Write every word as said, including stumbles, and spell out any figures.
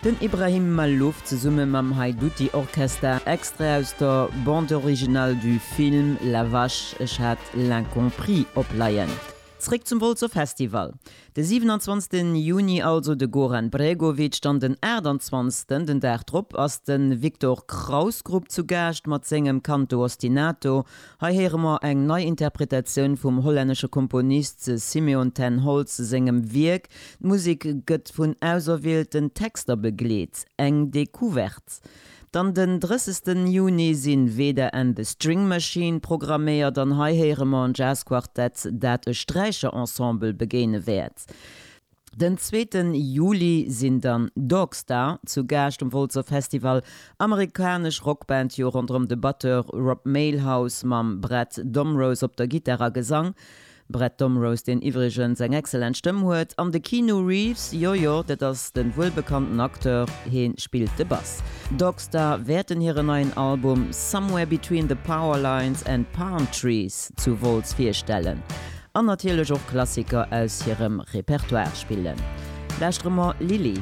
Den Ibrahim Malouf zesumme mam Haiduti Orchester, Extrait aus der Bande originale du Film La Vache, ech hat L'Incompris opleien. Zréck zum Wolzer Festival. De siwenanzwanzegsten Juni also de Goran Bregovic, dann den aachtanzwanzegsten, den Dag drop, ass de Viktor Krauss Grupp zu Gaascht mat sengem Canto Ostinato. Hei héiere mer eng nei Interpretatioun vum hollännesche Komponist Simeon ten Holtz sengem Wierk. D'Musek gëtt vun auserwielten Texter begleet. Eng Decouverte. Dann den drëssegsten Juni sinn Veda and the String Machine programméiert an hei héiere mer en Jazzquartett, dat e Sträicherensemble begéine wäert. Den zweeten Juli sinn dann Dogstar zu Gaascht um Wolzer Festival, amerikanesch Rockband jo ronderëm de Batteur Rob Mailhouse mam Brett Domrose op der Gittar a Gesang. Brett Domrose, deen iwwregens eng excellent Stëmm huet, an de Keanu Reeves, jo jo, dat ass de wuelbekannten Acteur, hee spillt de Bass. Dogstar wäerten hiren neien Album Somewhere Between the Power Lines and Palm Trees zu Wolz virstellen an natierlech och Klassiker aus hirem Repertoire spillen. Lauschtere mer Lily.